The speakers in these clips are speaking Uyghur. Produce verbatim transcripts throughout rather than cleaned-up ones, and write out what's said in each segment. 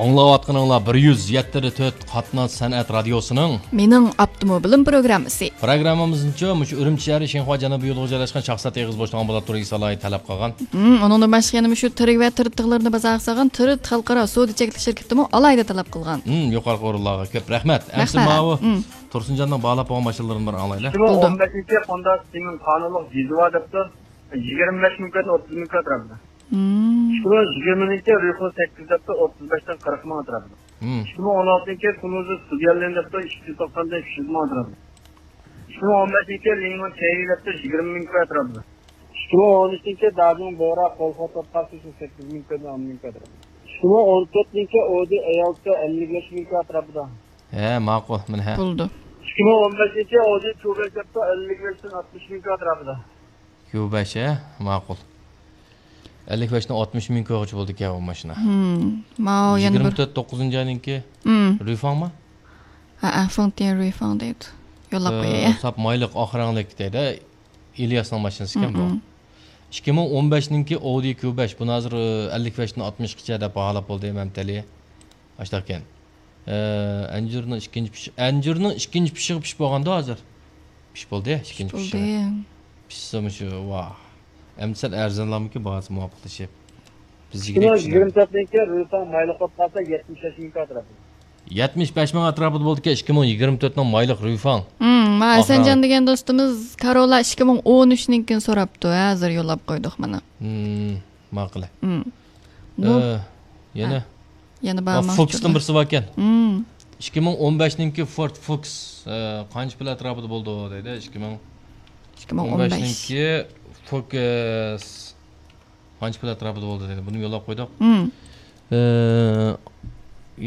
ئاڭلاۋاتقىنىڭلار بىر يۈز يەتتە تۆت قاتناش سەنئەت رادىيوسىنىڭ مېنىڭ ئاپتوموبىلىم پروگراممىسى. پروگراممىمىزنىچۇ مۇشۇ ئۈرۈمچى شەھىرى شىنخۇا جەنۇبىي يولىغا جايلاشقان شاخسەت ئېغىز بوشلۇقىنىڭ بولۇپ تۇرۇشى سالاھىيىتى تەلەپ قىلغان. ھىم، ئۇنىڭدىن باشقا يەنە مۇشۇ تىرىك ۋە تىرىت تىغلىرىنى بازارغا سالغان تىرىت خەلقئارا سودا چەكلىك شىركىتىمۇ ئالاھىدە تەلەپ قىلغان. ھىم، يۇقىرىقى ئورۇنلارغا كۆپ رەھمەت. ئەمسە رەھمەت. ماۋۇ ھىم. تۇرسۇنجاننىڭ باھالاپ قويغان ماشىنىلىرىنى بىر ئاڭلايلى. ئىككى مىڭ ئون بەشىنچى يىل بولدى. ھوندا سىمىڭ قانۇنلۇق جىزۋا دەپتۇ. يىگىرمە بەش مىڭ كۆتنى ئوتتۇز مىڭ كۆت رەبدە. ھىم. ئىككى مىڭ يىگىرمىنىڭكى رۇيخۇ سەككىز دەپتۇ، ئوتتۇز بەشتىن قىرىق مىڭ ئەتراپىدا. ھىم. ئىككى مىڭ ئون ئالتىنچى كۇنۇزى ستۇدياللىن دەپتۇ، ئىككى يۈز توقساندىن ئۈچ يۈز مىڭ ئەتراپىدا. ئىككى مىڭ ئون بەشىنچى لىڭمۇ چەيۋى دەپتۇ، يىگىرمە مىڭ كۆت ئەتراپىدا. ئىككى مىڭ ئون ئۈچىنچى داجۇڭ بورا قول خوتۇت قارشى سەككىز مىڭ كۆت، ئون مىڭ كۆت ئەتراپىدا. ئىككى مىڭ ئون تۆتىنچى ئودى ئەيالتى ئەللىك بەش مىڭ كۆت ئەتراپىدا. ھە، ماقۇل، مانا ھە. بولدى. ئىككى مىڭ ئون بەشىنچى ئودى كيۇ بەش دەپتۇ، ئەللىك بەشتىن ئاتمىش مىڭ كۆت ئەتراپىدا. كيۇ بەش، ھە؟ ماقۇل. ئەللىك بەشتىن ئاتمىش مىڭ كۆغىچە بولىدىكەن ئۇ ماشىنا. ھىم. ماۋۇ يەنە بىر يىگىرمە تۆت توققۇزىنچى ئاينىڭكى ھىم. رۇيفاڭمۇ؟ ھەئە، فېڭتيەن رۇيفاڭ دەيدۇ. يوللاپ ئە، قوياي، ئە. ساپ مايلىق ئاق رەڭلىك دەيدۇ. ئىلياسنىڭ ماشىنىسى ئىكەن بۇ. ھىم، ھىم. ئىككى مىڭ ئون بەشنىڭكى ئودى كيۇ بەش. بۇنى ھازىر، ئە، ئەللىك بەشتىن ئاتمىشقىچە دەپ باھالاپ بولدى مەمتىلى. ئاشتاق ئىكەن. ئە، ئەنجۈرنىڭ ئىككىنچى پىش-، ئەنجۈرنىڭ ئىككىنچى پىشىقى پىشىپ بولغاندۇ ھازىر. پىش بولدى، ئىككىنچى پىشىقى. پىشسا مۇشۇ، ۋاھ. ئەمدى سەل ئەرزانلارمىكىن، باھاسى مۇۋاپىقلىشىپ. بىز يىگىرمە ئىككى. يىگىرمە تۆتنىڭكى رۇيفاڭ مايلىق بولۇپ قالسا، يەتمىش بەش مىڭ ئەتراپىدا. يەتمىش بەش مىڭ ئەتراپىدا بولىدىكەن، ئىككى مىڭ يىگىرمە تۆتنىڭ مايلىق رۇيفاڭ. ھىم، ما، ئاخىرى. ھەسەنجان دېگەن دوستىمىز كاروللا ئىككى مىڭ ئون ئۈچنىڭكىنى سوراپتۇ، ھازىر يوللاپ قويدۇق مانا. ھىم، ماقۇل. ھىم. ئە، يەنە؟ ھە. يەنە بارمۇ؟ فوكستىن بىرسى باركەن. ھىم. ئىككى مىڭ ئون بەشنىڭكى فورد فوكس، ئە، قانچە پۇل ئەتراپىدا بولىدۇ دەيدۇ، ئىككى مىڭ ئون بەشنىڭكى فوكس. قانچە پۇل ئەتراپىدا بولدى دېدى. بۇنى يوللاپ قويدۇق. مم. ئى،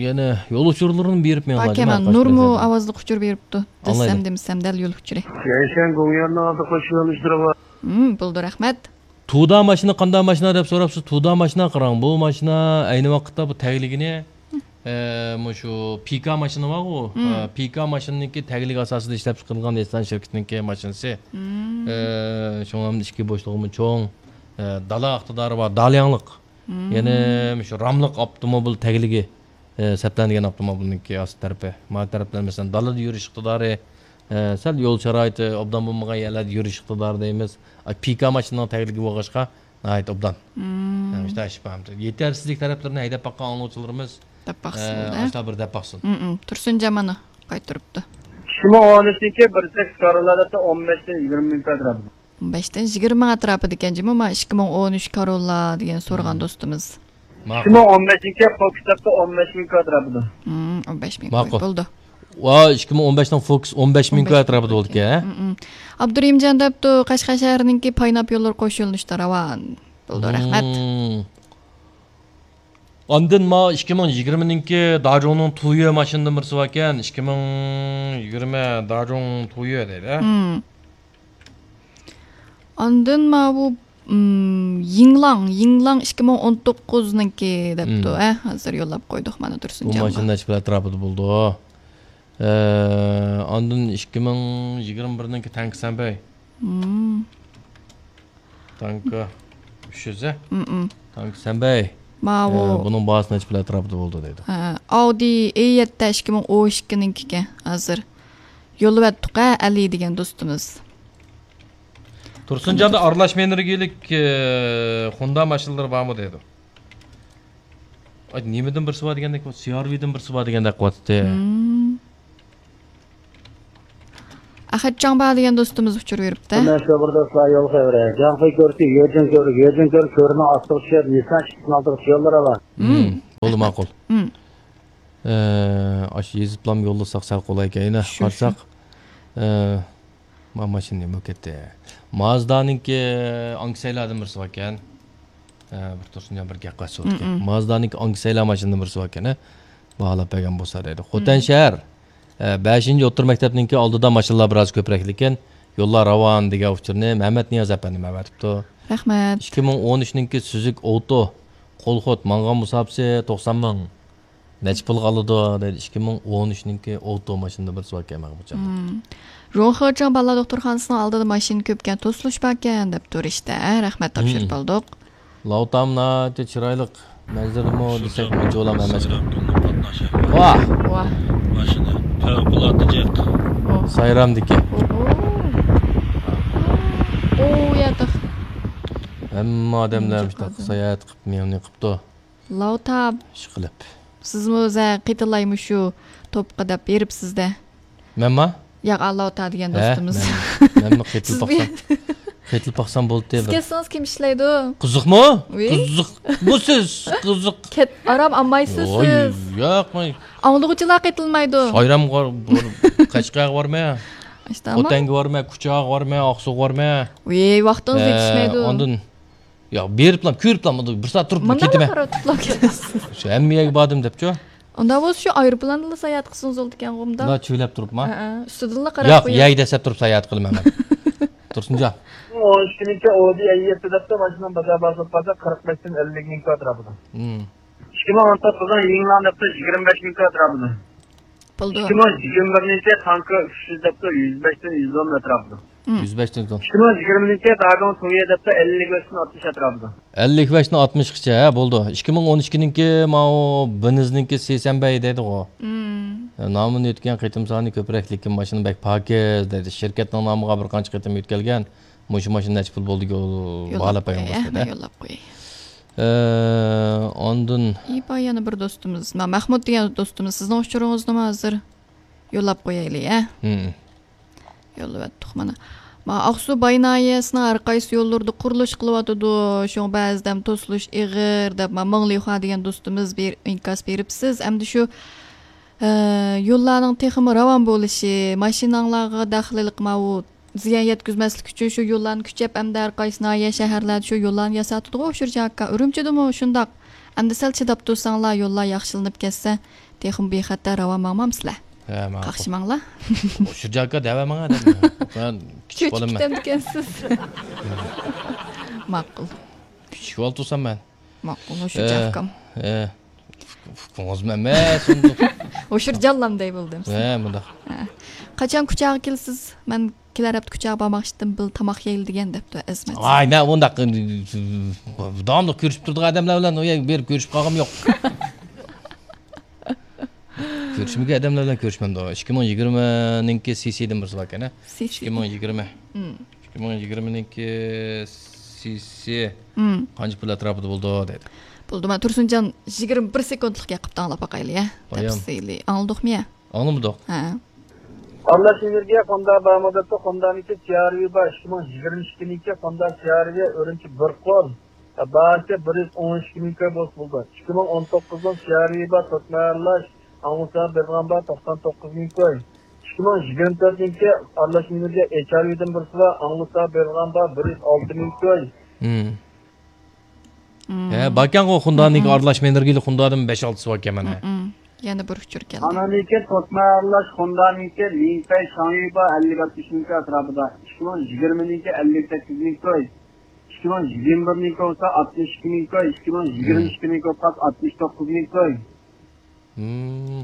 يەنە يول ئۇچۇرلىرىنى بېرىپ مېڭىڭلار، باركەن، جۇمۇ، نۇرمۇ ئاۋازلىق ئۇچۇر بېرىپتۇ. ئاڭلايلى. دېسەم دېمىسەم، دەل يول ئۇچۇرى. يەنشەن گوڭيەننىڭ ئالدى قوشۇۋېلىشلىرى بار. مم، بولدى، رەھمەت. تۇدا ماشىنا قانداق ماشىنا دەپ سوراپسىز. تۇدا ماشىنا قاراڭ. بۇ ماشىنا ئەينى ۋاقىتتا بۇ تەگلىكىنى ئە، مۇشۇ پىكا ماشىنا بارغۇ، مم. ئە، پىكا ماشىنىنىڭكى تەگلىك ئاساسىدا ئىشلەپچىقىرىلغان نىسسان شىركىتىنىڭكى ماشىنىسى. مم. ئە، شۇڭا ئىچكى بوشلۇقىمۇ چوڭ، ئە، دالا ئىقتىدارى بار، دالياڭلىق. مم. يەنە مۇشۇ راملىق ئاپتوموبىل تەگلىكى، ئە، سەپلەنگەن ئاپتوموبىلنىڭكى ئاستى تەرىپى. ما تەرەپلەر، مەسىلەن، دالىدا يۈرۈش ئىقتىدارى، ئە، سەل يول شارائىتى ئوبدان بولمىغان يەرلەردە يۈرۈش ئىقتىدارى دەيمىز. ئە، پىكا ماشىنىنىڭ تەگلىكى بولغاچقا، ناھايىتى ئوبدان. مم. ھەم شۇنداق ئىش بار. يېتەرسىزلىك تەرەپلىرىنى ھەيدەپ باققان ئاڭلىغۇچىلىرىمىز، دەپ باقسۇن، ئە، بولدى. ئاشۇنداق بىر دەپ باقسۇن. مم، مم. تۇرسۇنجان مانا قايتۇرۇپتۇ. ئىككى مىڭ ئون ئۈچىنچى بىر سەككىز كاروللا دەپتۇ، ئون بەشتىن يىگىرمە مىڭ ئەتراپىدا. ئون بەشتىن يىگىرمە مىڭ ئەتراپىدىكەن جۇمۇ، ما ئىككى مىڭ ئون ئۈچ كاروللا دېگەن سورىغان مم. دوستىمىز. ماقۇل. ئىككى مىڭ ئون بەشىنچى فوكس دەپتۇ، ئون بەش مىڭ ئەتراپىدا. مم، ئون بەش مىڭ ماقۇل. بولدى. ۋا، ئىككى مىڭ ئون بەشنىڭ فوكس ئون بەش مىڭ ئون بەش مىڭ ئەتراپىدا بولىدىكەن. مم، مم. ئابدۇرېھىمجان دەپتۇ، قەشقەر شەھىرىنىڭكى پايناپ يوللىرى قوش يۆنىلىشتە راۋان. بولدى، رەھمەت. مم. ئاندىن ما ئىككى مىڭ يىگىرمىنىڭكى داجۇڭنىڭ تۇيۇ ماشىنىدىن بىرسى باركەن. ئىككى مىڭ يىگىرمە داجۇڭ تۇيۇ دەيدۇ. مم. ئاندىن ماۋۇ، مم، يىڭلاڭ، يىڭلاڭ ئىككى مىڭ ئون توققۇزنىڭكى دەپتۇ، مم. ھە، ھازىر يوللاپ قويدۇق مانا بۇ تۇرسۇنجانغا. ماشىنا نەچچە پۇل ئەتراپىدا بولىدۇ؟ ئە، ئاندىن ئىككى مىڭ يىگىرمە بىرنىڭكى تەڭكە سەنبەي. مم. تانكا ئۈچ يۈز، ھە؟ مم، مم. تانكا سەنبەي. ماۋۇ. ئە، بۇنىڭ باھاسى نەچچە پۇل ئەتراپىدا بولىدۇ دەيدۇ. ھە، ئاۋدى ئې يەتتە ئىككى مىڭ ئون ئىككىنىڭكىكەن ھازىر. يوللىۋەتتۇق ھە، ئەلى دېگەن دوستىمىز. تۇرسۇنجاندا ئارىلاش ئېنېرگىيەلىك، ئە، خوندا ماشىنىلىرى بارمۇ دەيدۇ. ئاي، نېمىدىن بىرسى بار دېگەندەك، سىئارۋىدىن بىرسى بار دېگەندەك قىلىۋاتىتتى. مم. ئەخەت جاڭبا دېگەن دوستىمىز ئۇچۇر بېرىپتۇ. مەن شۇ بىر دوستلار يول خەۋىرى. جاڭفېي كۆرسى، يۆجىن كۆرى، يۆجىن كۆرى، كۆرىنىڭ ئاستىغا چۈشۈپ، نىسسان ئىككىسىنىڭ ئالدىغا چۈشۈپ يوللىرى بار. مم، بولدى، ماقۇل. مم. ئە، ئاشۇ يېزىپلام يوللىساق سەل قولايكەن. يەنە شۇ، شۇ. قارىساق، ئە، ما ماشىنا نېمە بولۇپ كەتتى؟ مازدانىڭكى ئاڭكىسەيلاردىن بىرسى باركەن. ئە، بىر تۇرسۇنجان بىر گەپ قىلسا بولىدىكەن. مم، مم. مازدانىڭكى ئاڭكىسەيلا ماشىنىدىن بىرسى باركەن، ھە؟ باھالاپ بەرگەن بولسا دەيدۇ. خوتەن مم. شەھەر، ئە، بەشىنچى ئوتتۇرا مەكتەپنىڭكى ئالدىدا ماشىنىلار بىراز كۆپرەك لېكىن، يوللار راۋان دېگەن ئۇچۇرنى مەمەت نىياز ئەپەندىم ئەۋەتىپتۇ. رەھمەت. ئىككى مىڭ ئون ئۈچنىڭكى سۈزۈك ئوتو قول خوت ماڭغان مۇساپىسى توقسان مىڭ. نەچچە پۇلغا ئالىدۇ دەيدۇ، ئىككى مىڭ ئون ئۈچنىڭكى ئوتو ماشىنىدا بىرسى باركەن ماڭا بۇ چاغدا. مم. روڭخېچىڭ بالىلار دوختۇرخانىسىنىڭ ئالدىدا ماشىنا كۆپكەن، توسۇلۇش باركەن دەپ تۇرۇشتا، ھە، رەھمەت، تاپشۇرۇپ مم. ئالدۇق. لاۋتام ناھايىتى چىرايلىق، مەنزىرىمۇ دېسەك ئۇنچە ئۇلام ئەمەس. سايرام كۆڭۈل قاتناش ئەھۋالى. ۋاھ! ۋاھ! ماشىنا پەۋقۇلئاددە جىق. ئوھ. سايرامدىكى. ئوھو. ئۇ ياتاق. ھەممە ئادەملەر مۇشۇنداق ساياھەت قىلىپ، مېڭىنى قىپتۇ. لاۋتا. ئىشقىلىپ. سىزمۇ ئۆزى قېتىلاي مۇشۇ توپقا دەپ بېرىپسىز-دە. مەنما؟ ياق، ئاللاۋتا دېگەن ھە، دوستىمىز. مەن، مەنمۇ قېتىلىپ سىز باقسام، قېتىلىپ باقسام بولدى سىز بىر. كەتسىڭىز كىم ئىشلەيدۇ؟ قىزىقمۇ؟ ۋىي. قىزىقمۇ سىز؟ قىزىق. كەت-، ئارام ئالمايسىز ۋوي، سىز. ياق، مەن ئاڭلىغۇچىلار قېتىلمايدۇ. سايرامغا بار-، قەشقەرگە بارمەن. ئىشتە ئامان. خوتەنگە بارمەن، كۇچاغا بارمەن، ئاقسۇغا بارمەن. ۋىي، ۋاقتىڭىز ھە، يېتىشمەيدۇ. ئاندىن ياق، بېرىپلا، كۆرۈپلا، بۇ بىر سائەت تۇرۇپلا مۇنداقلا كېتىمەن. قاراپ تۇرۇپلا كېتىسىز. شۇ ھەممە يەرگە باردىم دەپچۇ. ئۇنداق بولسا شۇ ئايروپىلاندا ساياھەت قىلسىڭىز بولىدىكەنغۇ ئۇنداق. مۇنداق چۆۋلەپ تۇرۇپما؟ ھەئە، ئۈستىدىنلا قاراپ ياق، قويۇڭ. يەي دەسسەپ تۇرۇپ ساياھەت قىلىمەن مەن. تۇرسۇنجان. ئون ئىككىنچى ئودى ئەييەتتە دەپتۇ، ماشىنىنىڭ بازار باھاسى بولۇپ قالسا قىرىق بەشتىن ئەللىك مىڭ كوي ئەتراپىدا. ھىم. ئىككى مىڭ ئون توققۇزنىڭ يىڭلان دەپتۇ، يىگىرمە بەش مىڭ كوي ئەتراپىدا. بولدى. ئىككى مىڭ يىگىرمە بىرىنچى تانكا ئۈچ يۈز دەپتۇ، يۈز بەشتىن يۈز ئون ئەتراپىدا. ھىم. يۈز بەشتىن يۈز ئون. ئىككى مىڭ يىگىرمىنچى داگاڭ سۇيى دەپتۇ، ئەللىك بەشتىن ئاتمىش ئەتراپىدا. ئەللىك بەشتىن ئاتمىشقىچە، ھە، بولدى. ئىككى مىڭ ئون ئىككىنىڭكى ماۋۇ بېنزنىڭكى سېسەنبەي دەيدىغۇ. ھىم. نامىنى ئۆتكەن قېتىم سانى كۆپرەك، لېكىن ماشىنا بەك پاكىز دەيدۇ. شىركەتنىڭ نامىغا بىر قانچە قېتىم يۆتكەلگەن. مۇشۇ ماشىنا نەچچە پۇل بولدى، يول-، يوللاپ باھالاپ قوياي، قويماس دەيدۇ. يوللاپ قوياي. ئە، ئاندىن ئى، باي يەنە بىر دوستىمىز. ما-، مەھمۇد دېگەن دوستىمىز، سىزنىڭ ئۇچۇرىڭىزنىمۇ ھازىر يوللاپ قويايلى، ھە؟ ھىم. يوللىۋەتتۇق مانا. ما، ئاقسۇ باي ناھىيەسىنىڭ ھەر قايسى يوللىرىدا قۇرۇلۇش قىلىۋاتىدۇ، شۇڭا بەزىدە توسۇلۇش ئېغىر دەپ، ما، مىڭلىخۇا دېگەن دوستىمىز بىر ئىنكاس بېرىپسىز. ئەمدى شۇ، ئە، يوللارنىڭ تېخىمۇ راۋان بولۇشى، ماشىناڭلارغا دەخلىلىق ماۋۇ زىيان يەتكۈزمەسلىك ئۈچۈن شۇ يوللارنى كۈچەپ، ئەمدى ھەر قايسى ناھىيە، شەھەرلەردە شۇ يوللارنى ياساتىدىغۇ، ئۇشۇرجان ئاكا. ئۈرۈمچىدىمۇ شۇنداق. ئەمدى سەل چىداپ تۇرساڭلار، يوللار ياخشىلىنىپ كەتسە، تېخىمۇ بىخەتەر راۋان ماڭمامسىلەر؟ ھە، ماقۇل. قاقشىماڭلار. ئۇشۇرجان ئاكا دەۋەرمەڭ ئادەمنى. مەن كىچىك بالىمەن. كەتكەنسىز. ماقۇل. كىچىك بالا تۇرسام مەن. ماقۇل، ئۇشۇرجان ئاكام. ئە، ئۇكىڭىزمۇ ئەمەس، ئۇنداق. ئۇشۇرجانلام دەي بولدۇم. ھە، مۇنداق. ھە. قاچان كۇچاغا كېلىسىز؟ مەن كېلەر ھەپتە كۇچاغا بارماقچىدىم، بىللە تاماق يەيلى دېگەن دەپتۇ ئەزىمەت. ۋاي، مەن ئۇنداق، داۋاملىق كۆرۈشۈپ تۇرىدىغان ئادەملەر بىلەن ئۇ يەرگە بېرىپ كۆرۈشۈپ قالغۇم يوق. كۆرۈشمىگەن ئادەملەر بىلەن كۆرۈشمەمدۇ. ئىككى مىڭ يىگىرمىنىڭكى سىسىدىن بىرسى باركەن، ھە؟ سىسى. ئىككى مىڭ يىگىرمە. مم. ئىككى مىڭ يىگىرمىنىڭكى سىسى مم. قانچە پۇل ئەتراپىدا بولىدۇ دەيدۇ. بولدى، مانا تۇرسۇنجان يىگىرمە بىر سېكۇنتلۇق گەپ قىپتۇ، ئاڭلاپ باقايلى، ھە؟ بايام. تەپسىلىي. ئاڭلىدۇقمۇ، يە؟ ئاڭلىمىدۇق. ھە. ئارىلاش ئېنېرگىيە خوندا بارمۇ دەپتۇ، خوندانىڭكى سىئارۋى بار، ئىككى مىڭ يىگىرمە ئىككىنىڭكى خوندا سىئارۋى ئۈرۈمچى بىر قول. باھاسى بىر يۈز ئون ئىككى مىڭ كوي بولسا بولىدۇ. ئىككى مىڭ ئون توققۇزنىڭ سىئارۋى بار، تۆت ماي ئارىلاش، ئاڭلىسا بېرىدىغان بار، توقسان توققۇز مىڭ كوي. ئىككى مىڭ يىگىرمە تۆتىنىڭكى ئارىلاش ئېنېرگىيە ئېچ ئار ۋىدىن بىرسى بار، ئاڭلىسا بېرىدىغان بار، بىر يۈز ئالتە مىڭ كوي. مم. مم. ھە، باركەنغۇ، خوندانىڭكى مم. ئارىلاش ئېنېرگىيەلىك خوندادىن بەش ئالتىسى باركەن مانا. مم. يەنە بىر ئۇچۇر كەلدى. ئانانىڭكى تۆت ماي ئارىلاش خوندانىڭكى لىڭفەي شاڭيۈ بار، ئەللىك ئاتمىش مىڭ كوي ئەتراپىدا. ئىككى مىڭ يىگىرمىنىڭكى ئەللىك سەككىز مىڭ كوي. ئىككى مىڭ يىگىرمە بىرنىڭكى بولسا ئاتمىش ئىككى مىڭ كوي، ئىككى مىڭ يىگىرمە ئىككىنىڭكى پاس ئاتمىش توققۇز مىڭ كوي. مم.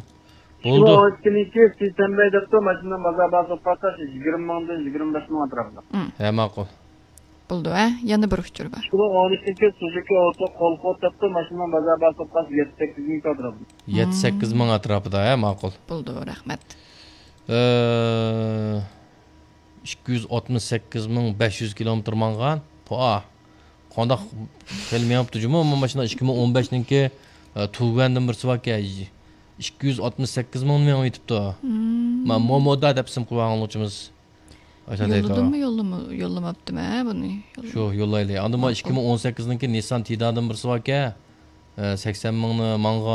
ئىككى مىڭ ئون ئىككىنىڭكى سىسەنبەي دەپتۇ، ماشىنىنىڭ بازار باھاسى قالسا يىگىرمە مىڭدىن يىگىرمە بەش مىڭ ئەتراپىدا. مم. ھە، ماقۇل. بولدى، ھە؟ يەنە بىر ئۇچۇر بار. ئىككى مىڭ ئون ئىككىنچى سۇزۇكى ئوتو قولخوت دەپتۇ، ماشىنىنىڭ بازار باھاسى قالسا يەتتە سەككىز مىڭ ئەتراپىدا. يەتتە سەككىز مىڭ ئەتراپىدا، ھە، ماقۇل. بولدى، رەھمەت. ئە، ئىككى يۈز ئاتمىش سەككىز مىڭ بەش يۈز كىلومېتىر ماڭغان. پا، قانداق خېلى مېڭىپتۇ جۇمۇ، بۇ ماشىنا ئىككى مىڭ ئون بەشنىڭكى، ئە، تۇگەندىن بىرسى باركەن، ئىككى يۈز ئاتمىش سەككىز مىڭ مېڭىپ يېتىپتۇ. مم. ما، مومودا دەپ ئىسىم قويغان ئاڭلىغۇچىمىز. ئاشۇنداق دەيدۇ. يوللىدىممۇ، يوللىما-، يوللىماپتىمەن بۇنى. شۇ، يوللايلى. ئاندىن ما، ماقۇل. ئىككى مىڭ ئون سەككىزنىڭكى نىسسان تىدادىن بىرسى باركەن، ئە، سەكسەن مىڭنى ماڭغان.